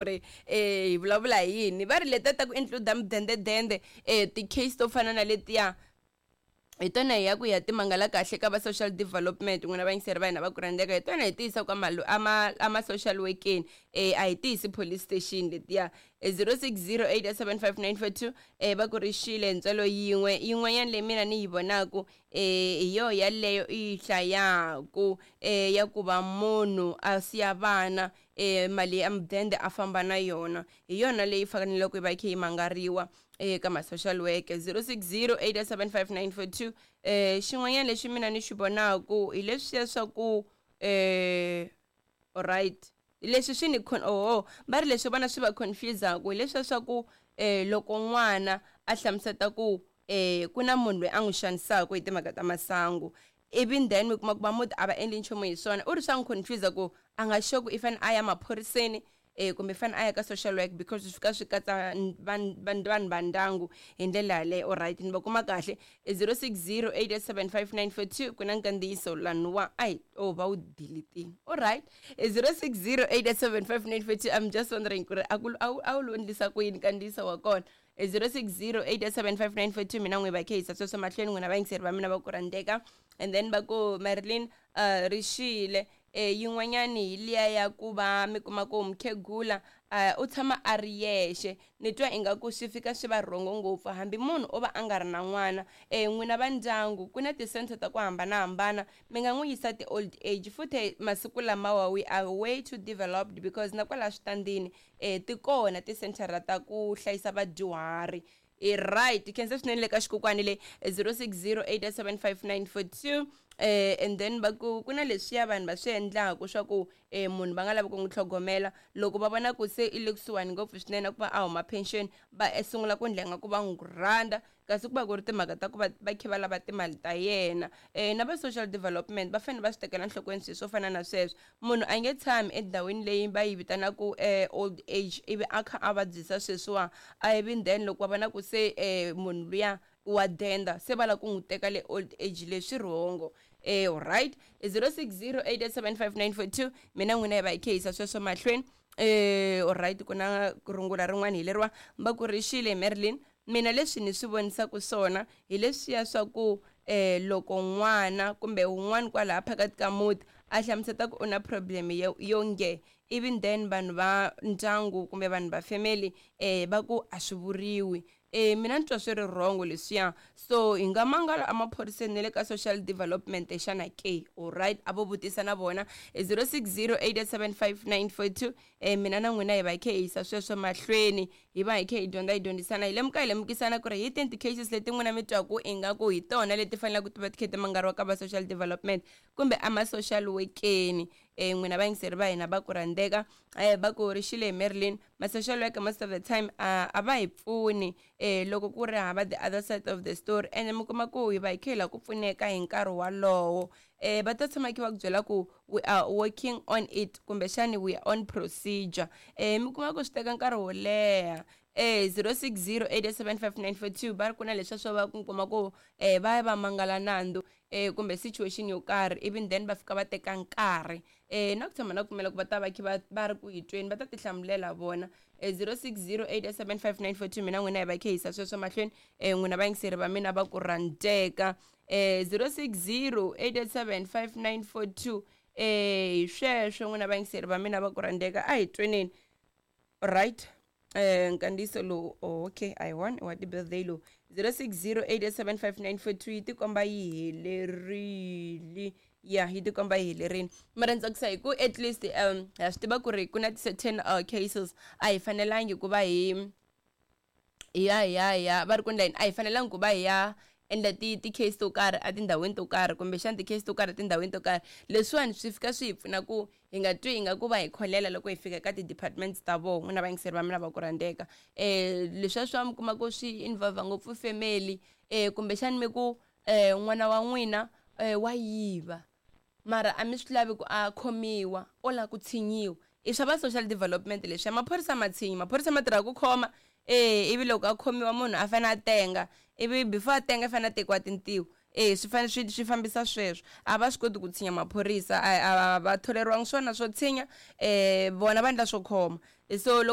Ri hi vulavula hi yini. Va ri letiya ta ku include mudendedende, ti-case to fana na letiya hi tona hi ya ku ya timangala kahle ka va social development. N'wina vayingiseri va hina va ku rhandzeka, hi tona hi tiyisa ka ama social workeni, a hi tiyisi police station letiya. 06087594, va ku ri xile ntswalo yin'we yin'wanyana leyi mina ni yi vonaku, hi yo yaleyo i yi hlayaku, ya ku va munhu a siya vana, mali ya mudende a famba na yona, hi yona leyi faneleke yi va yi kha yi mangariwa eka ma social worker. 06087594. Xin'wanyana lexi mina ni xi vonaku hi leswiya swa ku, alright, leswi swi ni oho, va ri leswi vona swi va confusaku hi leswiya swa ku, loko n'wana a hlamuseta ku, ku na munhu loyi a n'wi xanisaka hi timhaka ta masangu, ivi then mi kuma ku va muti a va endli nchumu hi swona, u ri swa n'wi confuse ku a nga sure ku i fanele a ya maphoriseni, kumbe i fanele a ya ka social work, because swi fika swi katsa vanhu va ndyangu hi ndlela yaleyo. Alright, ni va kuma kahle. 06087594, ku na nkandziyiso laniwa, ai, oh, va wu deletini. Alright, 06087594. I'm just wondering ku ri a wu lo endlisa ku yini nkandziyiso wa kona. 06087594. Mina n'wi va khehisa sweswo mahlweni, n'wina vayingiseri va mina va ku rhandzeka. And then va ku Marilyn, rixile, yin'wanyani hi liya ya ku va mi kuma ku mukhegula, u tshama a ri yexe. Ni twa ingaku swi fika swi va rhongo ngopfu hambi munhu o va a nga ri na n'wana. N'wina va ndyangu, ku na ti-center ta ku hambanahambana, mi nga n'wi yisa ti-old age futhe. Masiku lamawa we are way too developed, because na kwala switandini, ti kona ti-centera ta ku hlayisa vadyuhari. I right, khensa swinene le ka xikokwani le. 06087594, and then va ku ku na leswiya vanhu va swi endlaku swa ku, munhu va nga lavi ku n'wi tlhogomela loko va vona ku se i le kusuhani ngopfu swinene ku va a huma pension, va sungula ku ndla nga ku va n'wi rhandza, kasi ku va ku ri timhaka ta ku va va khe va lava timali ta yena. Na va social development va fanele va swi tekela enhlokweni swilo swo fana na sweswo. Munhu a nge tshami endhawini leyi va yi vitanaku, old age, ivi a kha a vabyisa sweswiwa, a ivi then loko va vona ku se, munhu luya wa denda, se va lava ku n'wi teka le old age, leswi rhongo. Right, 06087594. Mina n'wina hi va hi khehisa sweswo mahlweni. Alright, ku na rungula rin'wana hi leriwa, va ku rixile Marilyn. Mina leswi ni swi vonisaka swona hi leswiya swa ku, loko n'wana kumbe un'wana kwalaha phakathi ka muti a hlamuseta ku u na problem yo nge, ivi then vanhu va ndyangu kumbe vanhu va family, va ku a swi vuriwi. Mina ni twa swi ri wrong leswiya, so hi nga mangala emaphoriseni na le ka social development xana ke? Alright, a vo vutisa na vona. 06087594. Mina na n'wina hi va hi khe hi yisa sweswo mahlweni, hi va hi khe hi dyondza, hi dyondzisana, hi lemuka, hi lemukisana ku ri hi tini ti-cases leti n'wina mi twaku ingaku hi tona leti faneleke ti va ti khe ti mangariwa ka va social development kumbe ama-social workeni. N'wina vayingiseri va hina va ku rhandzeka, va ku rixile hi Marilyn. Ma-social worker most of the time a va hi pfuni, loko ku ri hava the other side of the story, ene mi kuma ku hi va hi khe hi lava ku pfuneka hi nkarhi walowo, va ta tshama khe va ku byela ku we are working on it, kumbexani we are on procedure. Mi kuma ku swi teka nkarhi wo leha. 06087594, va ri ku na leswiya swo va ku kuma ku, va ya va mangala nandzu, kumbe situation yo karhi, ivi then va fika va teka nkarhi, na ku tshama na ku pfumela ku va ta va khe va va ri ku hi tweni, va ta tihlamulela vona. 06087594, mina n'wina hi va khe hisa sweswo mahlweni, n'wina vayingiseri va mina va ku rhandzeka. 06087594, hi sweswo n'wina vayingiseri va mina va ku rhandzeka, a hi tweneni. Right, nkandziyiso lowu, oh, okay, i one wa ti-birthday lowu. 06087594 yi tikomba yi helerile, ya yi tikomba yi helerile, mara ni tsakisa hi ku at least, ha swi tiva ku ri ku na ti-certain cases a hi fanelangi ku va hi ya va ri ku endla yini, a hi fanelangi ku va hi ya endla ti-case to karhi etindhawini to karhi, kumbexana ti-case to karhi etindhawini to karhi. Leswiwani swi fika swi hi pfuna ku hi nga twi ingaku va hi kholela loko hi fika ka ti-departments ta vona. N'wina vayingiseri va mina va ku rhandzeka, leswiya swa mi kuma ku swi involve ngopfu family, kumbexani mi ku, n'wana wa n'wina, wa yiva, mara a mi swi lavi ku a khomiwa, o lava ku tshinyiwa. I swa va social development leswiya. Maphorisa ma tshinyi, maphorisa ma tirha ku khoma, ivi loko a khomiwa munhu a fanele a tenga, ivi before a tenga i fanele a tekiwa tintiho. Swi fanele swi fambisa sweswo. A va swi koti ku tshinya maphorisa, a va tholeriwangi swona swo tshinya, vona va endla swo khoma. So loko